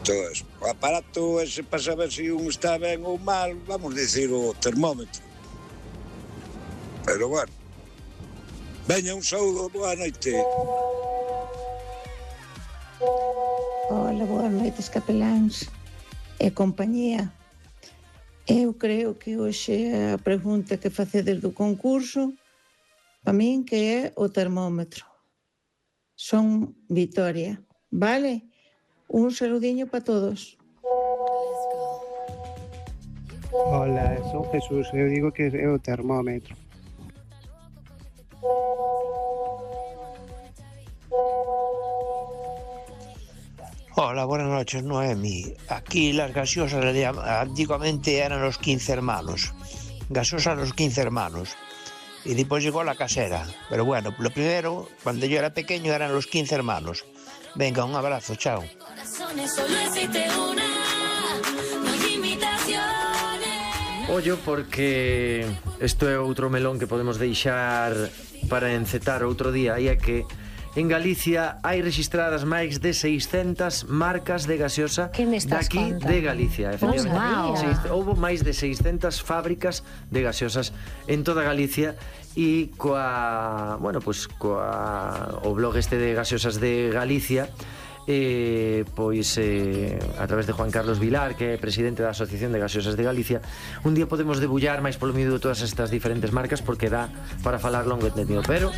todo eso. O aparato ese para saber se un está ben ou mal, vamos dicir o termómetro. Pero bueno, veña, un saúdo, boa noite. Hola, boas noites, capeláns e compañía. Eu creo que hoxe a pregunta que facedes do concurso para min que é o termómetro. Son Vitoria, vale? Un saludiño para todos. Hola, son Jesús, eu digo que é o termómetro. Hola, buenas noches, Noemi. Aquí las gaseosas antiguamente eran los 15 hermanos. Gaseosas los 15 hermanos. Y después llegó la casera. Pero bueno, lo primero, cuando yo era pequeño, eran los 15 hermanos. Venga, un abrazo, chao. Ollo, porque isto é outro melón que podemos deixar para encetar outro día, e é que en Galicia hai registradas máis de 600 marcas de gaseosa daqui de Galicia. Efectivamente, houve máis de 600 fábricas de gaseosas en toda Galicia, e coa, bueno, pues coa o blog este de gaseosas de Galicia, pois a través de Juan Carlos Vilar, que é presidente da Asociación de Gaseosas de Galicia, un día podemos debullar máis polo miúdo todas estas diferentes marcas, porque dá para falar longo e tendido. Pero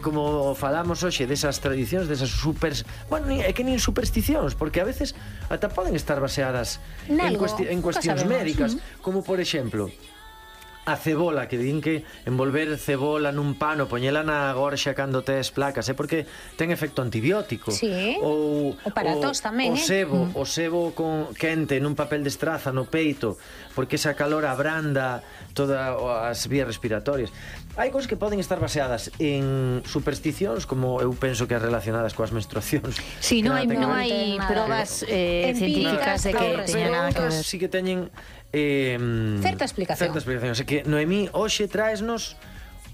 como falamos hoxe desas tradicións, desas bueno, é que nin supersticións, porque a veces ata poden estar baseadas en cuestións médicas, como por exemplo a cebola, que din que envolver cebola nun pano, poñela na gorxa cando tes placas, é porque ten efecto antibiótico. Sí. Ou para tos tamén, o sebo con quente nun papel de estraza no peito, porque esa calor abranda todas as vías respiratorias. Hai cousas que poden estar baseadas en supersticións, como eu penso que as relacionadas coas menstruacións. Sí, non hai probas científicas de que teña nada que ver. Sí que teñen certa explicación. Así que, Noemí, hoxe traesnos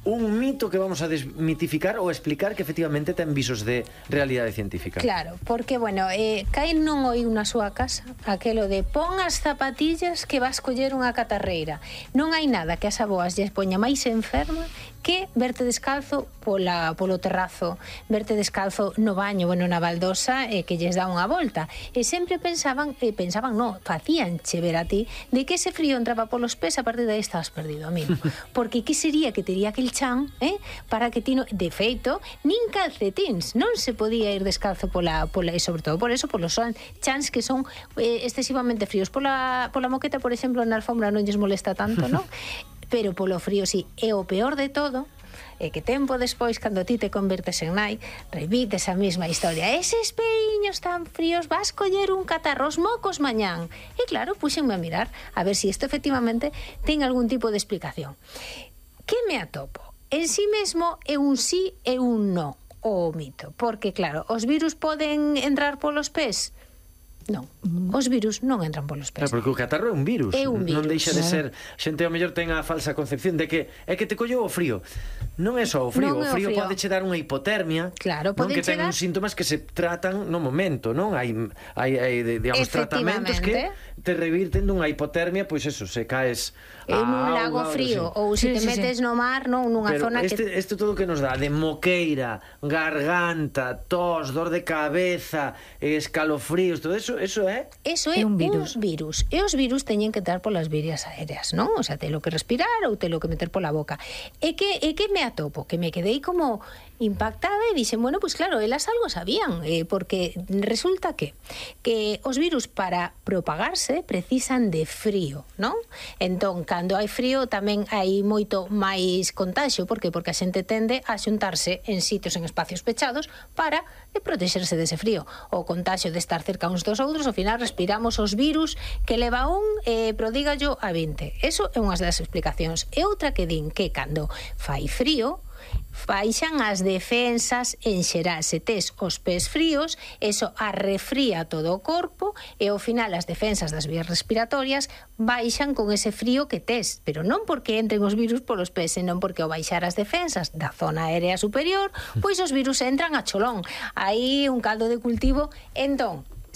un mito que vamos a desmitificar ou explicar que efectivamente ten visos de realidade científica. Claro, porque, bueno, caen non oíu na súa casa aquelo de pon as zapatillas que vas coller unha catarreira. Non hai nada que as aboas lles poña máis enferma que verte descalzo polo terrazo, verte descalzo no baño, bueno, na baldosa, que lles dá unha volta. E sempre pensaban, facíanche ver a ti de que ese frío entraba polos pés, a partir de aí estabas perdido, amigo. Porque que sería que tería aquel chan, para que ti no... De feito, nin calcetins, non se podía ir descalzo e sobre todo por eso, polos chans que son excesivamente fríos. Pola moqueta, por exemplo, na alfombra non lles molesta tanto, non? Pero polo frío sí. E o peor de todo é que tempo despois, cando ti te convertes en nai, repites a mesma historia. Eses peiños tan fríos, vas coller un catarro os mocos mañán. E claro, puxenme a mirar a ver se isto efectivamente ten algún tipo de explicación. Que me atopo? En sí mesmo é un sí e un no o mito, porque claro, os virus poden entrar polos pés? Non, os virus non entran polos pés. Porque o catarro é un virus. É un virus. Non deixa de ser... Xente ao mellor ten a falsa concepción de que é que te colleu o frío. Non é só o frío. O frío pode che dar unha hipotermia. Claro, pode che dar... Que ten uns síntomas que se tratan no momento, non? Hai digamos, tratamentos que te revirten dunha hipotermia, pois eso, se caes en un lago frío, ou se te metes no mar, non, nunha zona que... Isto todo que nos dá de moqueira, garganta, tos, dor de cabeza, escalofríos, todo eso é un virus. E os virus teñen que entrar polas vías aéreas, non? O sea, telo que respirar ou telo que meter pola boca. E que me atopo? Que me quedei como impactada e dixen, bueno, pues claro, elas algo sabían, porque resulta que os virus para propagarse precisan de frío, non? Entón, cando hai frío tamén hai moito máis contaxio. Por que? Porque a xente tende a xuntarse en sitios, en espacios pechados para protexerse dese frío. O contaxio de estar cerca uns dos outros, ao final respiramos os virus que leva un, prodígallo a 20. Eso é unha das explicacións. E outra que din que cando fai frío, baixan as defensas en xeral. Se tes os pés fríos, eso arrefría todo o corpo e ao final as defensas das vías respiratorias baixan con ese frío que tes, pero non porque entren os virus polos pés, senón porque ao baixar as defensas da zona aérea superior, pois os virus entran a cholón. Aí un caldo de cultivo. Entón,